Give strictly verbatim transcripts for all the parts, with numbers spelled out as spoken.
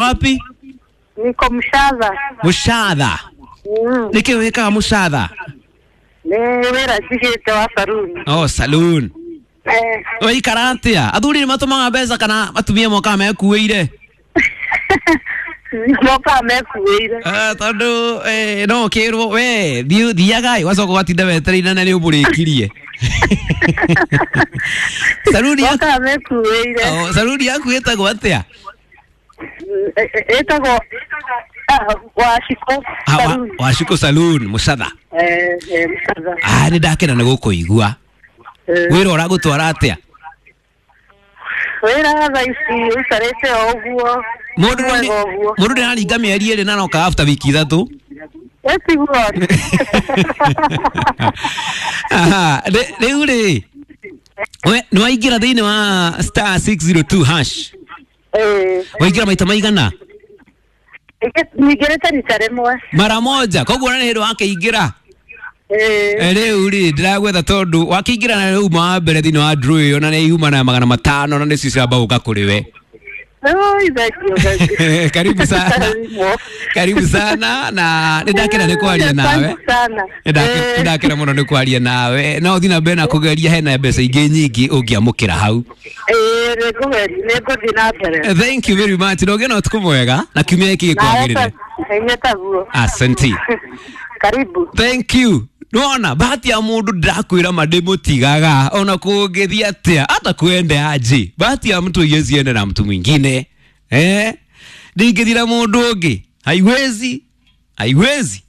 Wapi? Niko Mshadha. Mushadha. Mm. Niki wikaga Mushadha? Nĩ wĩra njigĩte wa saruni. Oh, saloon. Eh. Waikara atia? Athuri nĩ matũmaga mbeca kana atumia mokaga mekuĩire? Mokaga mekuĩire. Eh, tondũ eh, no ũkĩrwo we thiĩ thiaga ĩ wacoka ũgatinda wetereire na nĩ ũmũrĩkirie. Saruni yaku Mokaga mekuĩire. oh, saruni yaku ĩtagwo atĩa? Ĩtagwo ah, Wacikũ Ah, wa- saruni. Wacikũ saloon Mucatha. Eh, eh, Mshadha. Ah, nĩ ndakena nĩ gũkũigua. Eh. Wĩra ũragũtwara atĩa? Wĩra thaa ici ũikarĩte o ũguo. Mũndũ Mwega nĩ- ũguo. mũndũ ndĩraringa mĩeri ĩrĩ na noka after wiki ithatũ. Ĩtiguo. Aha, rĩ- rĩu rĩ we nĩ waingĩra thĩinĩ wa star six zero two hash Eh. waingĩra maita maigana Nyingĩrĩte rita rĩmwe. mara moja koguo na nĩ hĩndĩ wakĩingĩra. Eh. Eh, rĩu rĩ ndĩragwetha tondũ wakĩingĩra na rĩu uma wa mbere thĩinĩ wa draw ĩyo na nĩ yuma na magana matano na nĩcio ciramba gũka kũrĩ we. Oi, thank you, thank you. Karibu sana. Karibu. Karibu sana na nĩ ndakena nĩ kwaria nawe. Asante sana. Nĩ ndake- nĩ ndakena mũno nĩ kwaria nawe no ũthiĩ na mbere na kũgeria hena mbeca ingĩ nyingĩ ũngĩamũkĩra hau. Eh, nĩngũgeria, nĩngũthiĩ na mbere. Thank you very much. Na ũgĩe na ũtukũ mwega na kiumia gĩkĩ gĩkwagĩrĩre. Inyuĩ taguo. Asante. Karibu. Thank you. Nona bahati ya mundu ndakwira ma ndimutigaga ona kungithia atia hata kwende aje. Bahati ya mtu haiwezi enda na mtu mwingine. Eh? Ndingithira mundu ungi. Haiwezi. Haiwezi.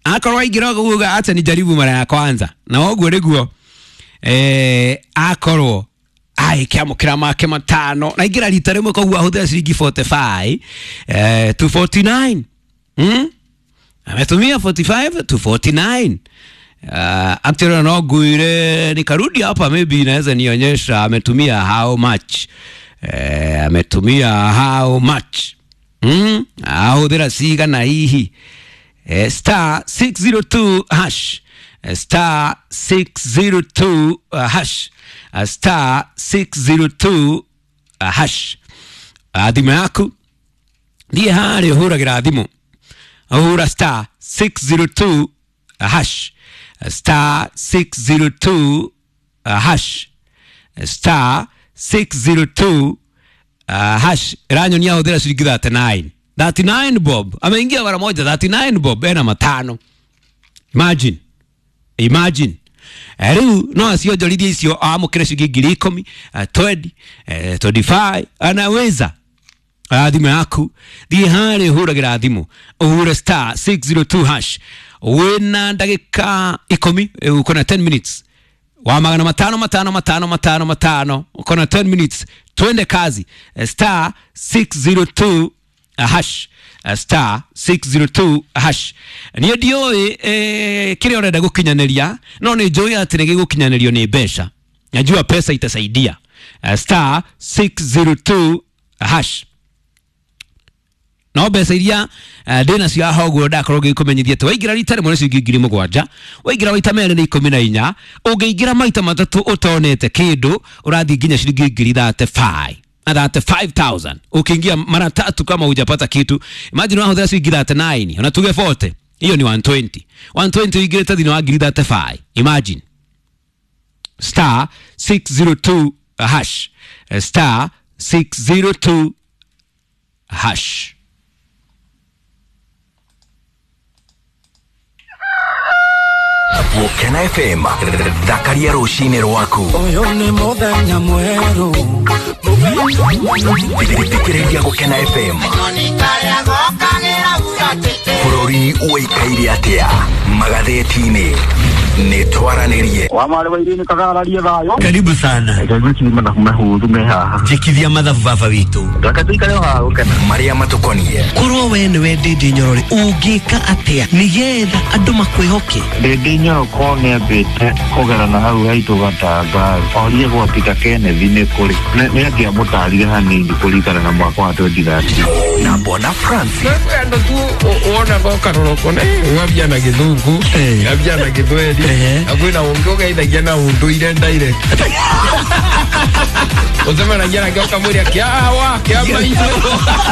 Akorwo aingira kuga acha nijaribu mara ya kwanza. Na ũguo nĩguo eh akorwo agĩkĩamũkĩra make matano na ingĩra rita rĩmwe koguo ahũthĩra ciringi forty-five eh, to forty-nine. Hmm? Ametumia forty-five to forty-nine. Uh, actually no nguire nikarudi hapa maybe inaweza nionyesha ametumia how much. Eh, ametumia how much. Hmm? Ahũthĩra cigana hihi. Eh, star six zero two hash. Eh, star six zero two uh, hash. Uh, star six zero two uh, hash. Uh, thimũ yaku thiĩ harĩa ũhũragĩra thimũ ahura star six zero two hash, star six zero two hash, star six zero two hash. Ĩranyonia ahũthĩra ciringi thirty-nine. thirty-nine bob ameingia mara moja thirty-nine bob ena matano. Imagine, imagine. Eh, rĩu no acionjorithie icio amũkĩre ciringi ngiri ikũmi, eh, twenty, eh, twenty-five anaweza. Ah, thimũ yaku thiĩ harĩa ũhũragĩra thimũ ũhure star six zero two hash wĩna ndagĩka ikũmi, eh, uko na ten minutes wa magana matano matano matano matano matano uko na ten minutes twende kazi. Eh, star six zero two hash, eh, star six zero two hash. Niĩ ndiũĩ eh, kĩrĩa ũrenda gũkinyanĩria no nĩ njũĩ atĩ nĩ gĩgũkinyanĩrio nĩ mbeca. Najua pesa itasaidia. Eh, star six zero two hash. No mbeca iria eh, ndĩ nacio haha ũguo ndakorwo ngĩkũmenyithia atĩ waingĩra rita rĩmwe nĩ ciringi ngiri mũgwanja, waingĩra maita merĩ nĩ ikũmi na inya, ũngĩingĩra maita matatũ ũtonete kĩndũ ũrathiĩ nginya ciringi ngiri thirty-five. thirty-five thousand. Ukiingia mara tatu kama hujapata kitu, imagine wahũthĩra ciringi thirty-nine, ona tuge forty, hiyo ni one twenty. one twenty ũingĩrĩte thĩinĩ wa ngiri thirty-five. Imagine. Star six zero two hash. Star six zero two hash. Gũkena F M thakaria rũcinĩ rwaku. Ũyũ nĩ mũthenya mwerũ. Thikĩrĩria Gũkena F M. Bũrũri ũikaire atĩa magathĩti-inĩ nĩ twaranĩrie. Wa marĩ wa irini kagararie thayũ. Karibu sana. Reke ngwĩcirie mathabu mahũthũ me haha. Njĩkithia mathabu baba witũ. Reke tũikare o haha gũkena. Marĩa matũkoniĩ. Korwo we nĩwe Ndĩndĩ Nyoro rĩ, ũngĩka atĩa nĩgetha andũ makwĩhoke? Ndĩndĩ Nyoro korwo nĩambĩte kũgera na hau haitũ Gatanga, orie gwa Peter Kenneth nĩ kũrĩ. Nĩ angĩamũtarire hanini kũringana na mwaka wa twenty thirteen. Na Bwana Francis. Andũ tu wonaga ũkarora ũkona, eh, ũyũ ambia na gĩthũngũ, Eh. ambia na gĩthweri. Ehe. Na kwĩna ũngĩ ũgeithagia na ũndũire direct. Ũcemanagia nake ũkamwĩra kĩawa kĩa maitũ.